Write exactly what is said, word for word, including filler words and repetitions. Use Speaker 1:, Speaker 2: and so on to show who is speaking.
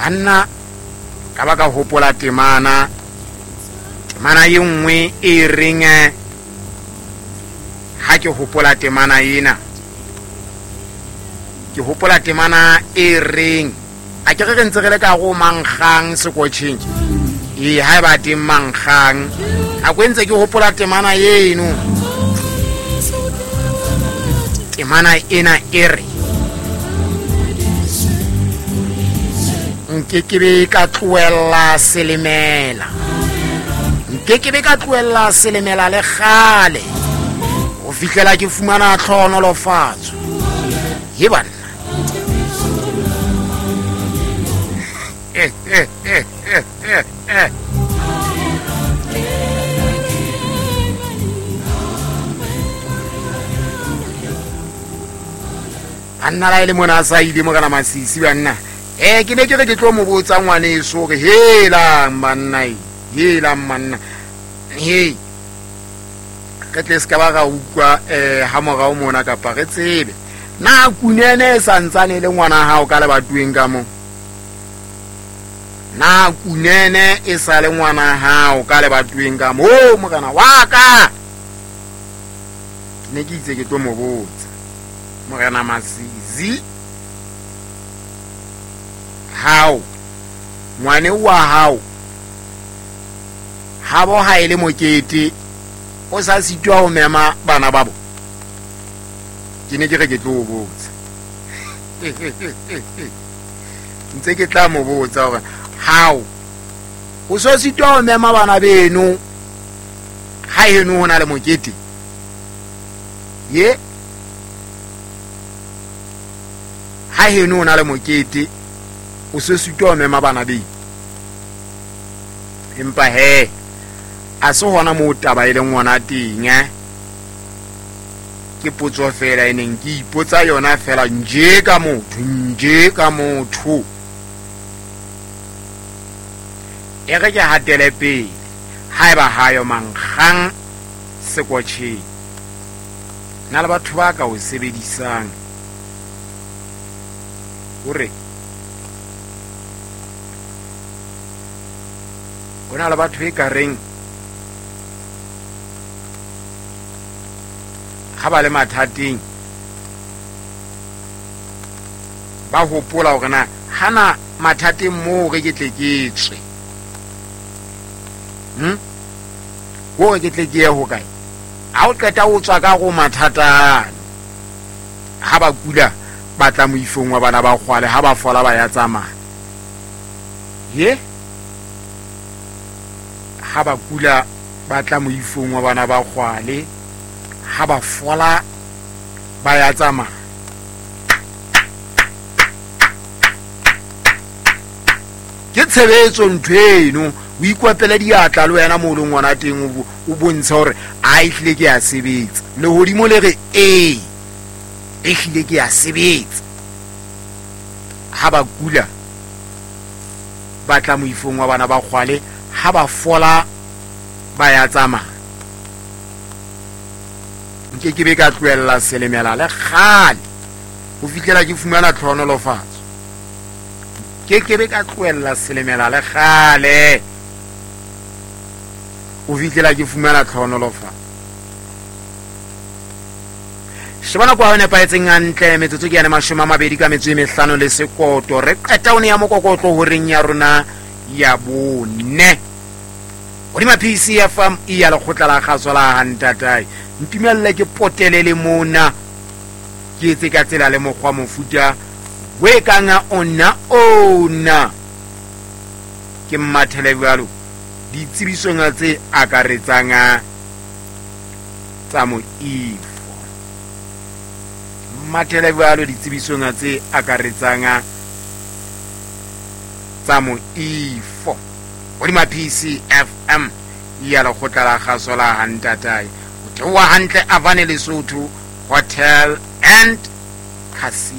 Speaker 1: Banna ka ba ka hopola temana temana e nngwe e reng, ha ke hopola temana ena ke hopola temana e reng, a ke re re ntse re le ka go mankgang sekotjheng, ee ha e ba teng mankgang, a ko ntse ke hopola temana eno. Temana ena e re, nke ke be ka tlohella selemela, nke ke be ka tlohella selemela le kgale ho fihlela ke fumana tlhohonolofatso. Ye banna, eh eh eh eh eh eh banna la ile mona sa ile mo kana Masisi banna. Eh ke ne ke re ke tlo mo botsa ngwaneso hore helang banna, helang manna, he re tle se ka ba ra utlwa eh ha morao mona kapa re tsebe na kunene e santsane le ngwana hao ka lebatoweng ka mo, na kunene e sa le ngwana hao ka lebatoweng ka mo, morena wa ka. Ke ne ke itse ke tlo mo botsa morena Masisi, hao ngwane wa hao habo ha ile mokete o sa sitwa ho mema bana babo. Ke ne ke re ke tlo botsa, ntse ke tla mo botsa hore hao o so sitwa ho mema bana beno ha heno ho na le mokete ye, ha heno ho na le mokete o se sitwa ho mema bana beno. Empa he a se hona moo taba e leng ngwana teng, eh ke potso fela e neng ke ipotsa yona fela nje ka motho, nje ka motho. E re ke hatele pele haeba hayo mankgang sekotjheng, na le batho ba ka o sebedisang hore ho na le batho e ka reng ha ba le mathateng ba hopola hore na hana mathateng moo re ke tle ke tswe, hm hore ke tle ke ye ho kae. Ha o qeta o tswa ka go mathata, ha ba kula ba tla moifong wa bana ba kgwale, ha ba fola ba ya tsamaya. Ye ha ba kula ba tla moifong wa bana ba kgwale, ha ba fola ba ya tsamaya. Ke tshebetso ntho eno, o ikwapele diatla le wena mo o leng ngwana teng, o bontshe hore a ehlile ke ya sebetsa. Lehodimo le re ee, ehlile ke ya sebetsa. Ha ba kula ba tla moifong wa bana ba kgwale, ha ba fola ba ya tsamaya. Nke ke be ka tlohella selemela le kgale ho fihlela ke fumana tlhohonolofatso. Ke ke be ka tlohella selemela le kgale ho fihlela ke fumana tlhohonolofatso. Sheba nako ha o nepahetseng hantle, metsotso ke yane mashome a mabedi ka metso e mehlano le sekoto. Re qeta o ne ya mokokotlo horeng ya rona ya bone hodima P C F M e ya lekgotla la kgaso la Hantatai. Ntumelle ke potele le mona, ke etse ka tsela le mokgwa mofuta we kanga ona ona ke mmathele jwalo ditsebisong tse akaretsang tsa moifo, mmathele jwalo ditsebisong tse akaretsang tsa moifo hodima P C F M ya lekgotla la kgaso la Hantatai. Ho theoha hantle Avane Lesotho Hotel and Casino.